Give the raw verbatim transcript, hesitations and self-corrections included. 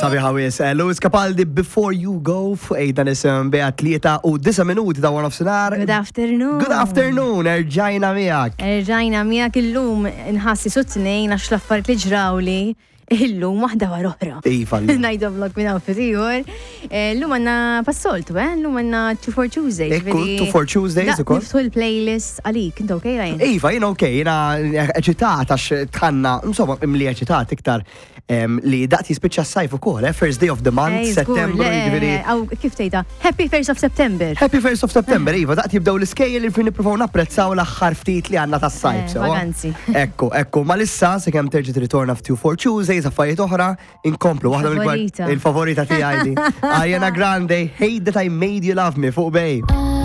Sabiħa wisq. Eh, Lewis Capaldi, "Before You Go", fuq ejda nisem beha tlieta u disa' minuti ta' one of sinar. Good afternoon. Good afternoon, erġajna miegħek. Erġajna miegħek illum, nħassi su tnejn għax l-affarijiet li ġrawli illum waħda wara oħra. Iva. Ngħidhomlok minn hawn ftit ieħor. Eh, Llum għandna passoltu, eh? Llum għandna two for Tuesdays. Ekku, two for Tuesdays ukoll. Niftħu l-playlist għalik, inti okay, Ryan? Iva, jien ok, jiena eċitat għax tħanna, insomma, imli eċitat iktar em, li daqt jispiċċa s-sajf ukoll, eh? First day of the month, Ej, żgur, Settembru, le, jiġifieri. Aw, kif tgħidha? Happy first of September. Happy first of September, iva, daqt jibdew l-iskejjel li fin nippruvaw napprezzaw l-aħħar ftit li għandna tas-sajf. Eh, Sewa? Vaganzi. Ekku, ekku, ma lissa, se kemm terġa' tirritorna f'Two for Tuesdays, affarijiet oħra, inkomplu. Waħda mill-kbar- Favorita. Il-favorita tiegħi di. Ariana Grande, "Hate That I Made You Love Me", fuq Bay.